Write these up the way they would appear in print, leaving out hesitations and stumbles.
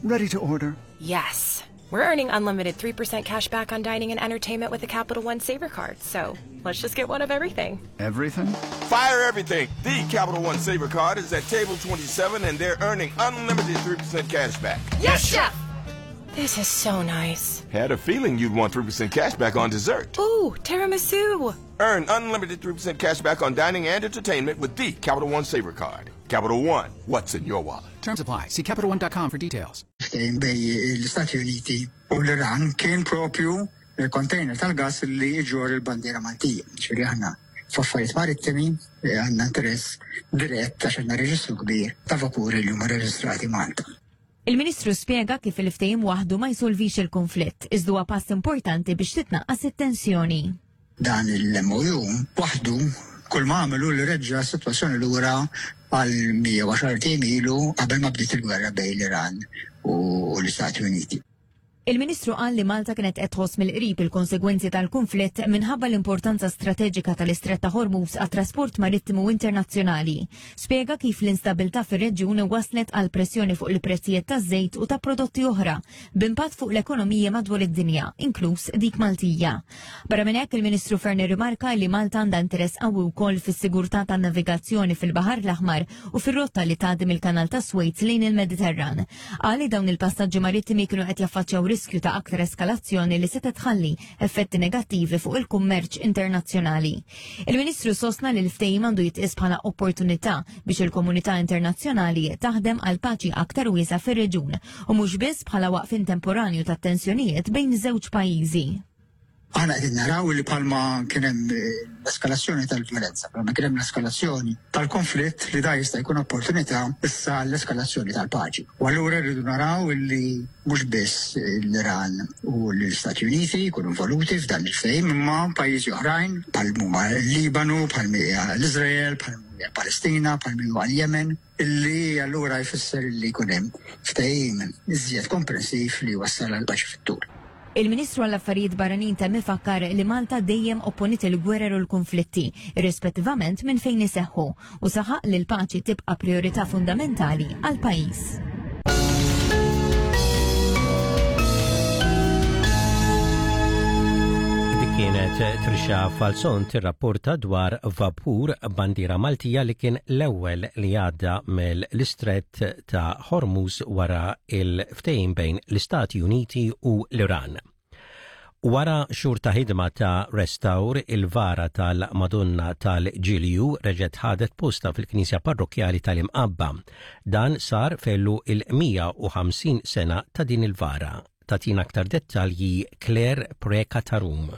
Ready to order? Yes. We're earning unlimited 3% cash back on dining and entertainment with the Capital One Saver Card, so let's just get one of everything. Everything? Fire everything! The Capital One Saver Card is at table 27 and they're earning unlimited 3% cash back. Yes, chef! This is so nice. Had a feeling you'd want 3% cash back on dessert. Ooh, tiramisu! Earn unlimited 3% cash back on dining and entertainment with the Capital One Saver Card. Capital One, what's in your wallet? Terms apply. See CapitalOne.com for details. Ftehim bejn l-Istati Uniti u l-Iran kien propju container tal-gass li jġorr il-bandiera Maltija. Ġifieri aħna f'affarijiet marittimi għandna interess dirett għax għandna reġistru kbir ta' vapuri li huma reġistrati Malta. Il-Ministru spjega kif il-ftehim waħdu ma jsolvix il-kunflitt, iżda huwa pass importanti biex titnaqqas it-tensjoni. Dan il-MOU waħdu kull ma għamel hu li reġġa' s-sitwazzjoni lura għal 110 ijiem ilu qabel ma bdiet il-gwerra bejn l-Iran u l-Istati Uniti. Il-Ministru qal li Malta kienet qed tħoss mill-qrib il-konsegwenzi tal-kunflitt minħabba l-importanza strateġika tal-Istrett ta' Hormuz għat-trasport marittimu internazzjonali. Spjega kif l-instabilità fir-reġjun wasslet għal pressjoni fuq il-prezzijiet taż-żejt u ta' prodotti oħra, b'impatt fuq l-ekonomiji madwar id-dinja, inkluż dik Maltija. Barra minn hekk, il-Ministru Fearne rrimarka li Malta għandha interess qawwi wkoll fis-sigurtà tan-navigazzjoni fil-Baħar l-Aħmar u fir-rotta li tgħaddi mill-Kanal ta' Suez lejn il-Mediterran. Qal li dawn il-passaġġi marittimi kienu qed jaffaċċjaw riskju ta' aktar eskalazzjoni li setgħet tħalli effetti negattivi fuq il-kummerċ internazzjonali. Il-Ministru sostna li l-ftehim għandu jitqies bħala opportunità biex il-komunità internazzjonali taħdem għal paċi aktar wiesgħa fir-reġun u mhux biss bħala waqfien temporanju tat-tensjonijiet bejn żewġ pajjiżi. Aħna qegħdin naraw li bħalma kien hemm l-eskalazzjoni tal-vjolenza, bħalma kien hemm l-eskalazzjoni tal-konflitt li da jista' jkun opportunità issa l-eskalazzjoni tal-paċi. U allura rridu naraw li mhux biss l-Iran u l-Istati Uniti jkunu involuti f'dan il-ftehim imma pajjiżi oħrajn bħal huma l-Libanu, bħal l-Iżrael, bħal Palestina, bħal huwa l-Yemen. Illi allura jfisser illi jkun hemm ftehim iżjed komprensiv li jwassal għal paċi fit-tul. Il-Ministru għall-Affarijiet Barranin temm ifakkar li Malta dejjem opponiet il-gwerer u l-kunflitti, irrispettivament minn fejn iseħħu, u saħaq li l-paċi tibqa' prijorità fundamentali għall-pajjiż. Dik kienet Trisha Falzon tirrapporta dwar vapur bandiera Maltija li kien l-ewwel li għadda mill-Istrett ta' Hormuz wara il-ftehim bejn l-Istati Uniti u l-Iran. Wara xhur ta' ħidma ta' restawr, il-vara tal-Madonna tal-Ġilju reġgħet ħadet postha fil-Knisja Parrokkjali tal-Imqabba. Dan sar f'għeluq il-150 sena ta' din il-vara. Tagħtina aktar dettalji Claire Preca ta' Rum.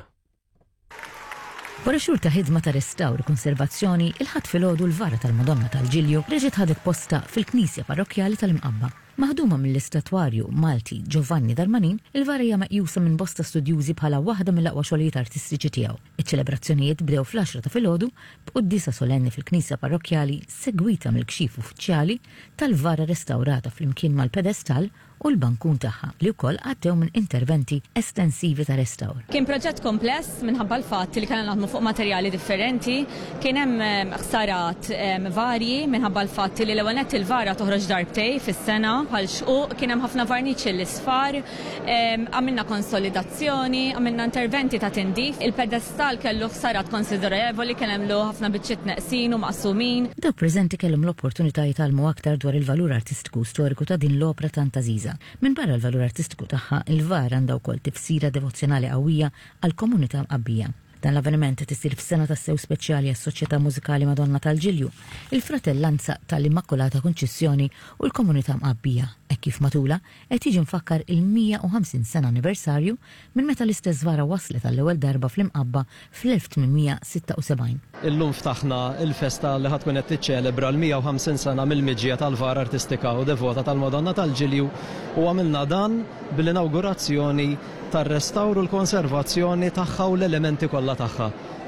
Wara xhur ta' ħidma ta' restawr u konservazzjoni, il-Ħadd filgħodu l-vara tal-Madonna tal-Ġilju reġgħet ħadet postha fil-Knisja Parrokkjali tal-Imqabba. Maħduma mill-istatwarju Malti Giovanni Darmanin, il-vara hija meqjusa minn bosta studjużi bħala waħda mill-aqwa xogħlijiet artistiċi tiegħu. Iċ-ċelebrazzjonijiet bdew fl-għaxra ta' filgħodu b'quddiesa solenni fil-Knisja Parrokkjali segwita mill-kxif uffiċjali tal-vara restawrata flimkien mal-pedestall u l-bankun tagħha, li wkoll għaddew minn interventi estensivi ta' restawr. Kien proġett kompless minħabba l-fatt li kellna naħdmu fuq materjali differenti. Kien hemm ħsarat varji minħabba l-fatt li l-ewwel nett il-vara toħroġ darbtejn fis-sena bħal xquq, kien hemm ħafna varniċ l-isfar, għamilna konsolidazzjoni, għamilna interventi ta' tindif. Il-pedestal kellu ħsarat konsiderevoli, kien hemm ħafna biċċiet neqsin u maqsumin. Dawk preżenti kellhom l-opportunità jitgħallmu aktar dwar il-valur artistiku u storiku ta' din l-opra tant għażiża. Minbarra l-valur artistiku tagħha, il-vara għandha wkoll tifsira devozzjonali qawwija għall-komunità Mqabbija. Dan l-avveniment qed isir f'sena tassew speċjali għas-Soċjetà Mużikali Madonna tal-Ġilju, il-Fratellanza tal-Immakulata Kunċizzjoni u l-komunità Mqabbija, hekk kif matulha qed jiġi mfakkar il-150 sena anniversarju minn meta l-istess vara waslet għall-ewwel darba fl-Imqabba fl-1876. Illum ftaħna l-festa li ħa tkun qed tiċċelebra l-150 sena mill-miġja tal-vara artistika u devota tal-Madonna tal-Ġilju u għamilna dan bl-inawgurazzjoni tar-restawr u l-konservazzjoni tagħha u l-elementi kollha tagħha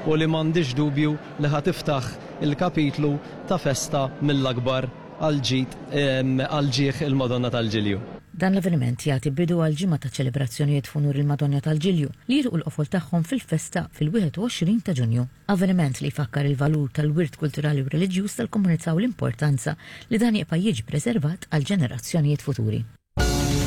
u li m'għandix dubju li ħa tiftaħ il-kapitlu ta' festa mill-akbar għall-ġid għal ġieħ il-Madonna tal-Ġilju. Dan l-avveniment jagħti bidu għal ġimgħa ta' ċelebrazzjonijiet f'unur il-Madonna tal-Ġilju li jilħqu l-qofol tagħhom fil-festa fil-21 ta' Ġunju. Avveniment li jfakkar il-valur tal-wirt kulturali u reliġjuż tal-komunità u l-importanza li dan jibqa' jiġi preservat għall-ġenerazzjonijiet futuri.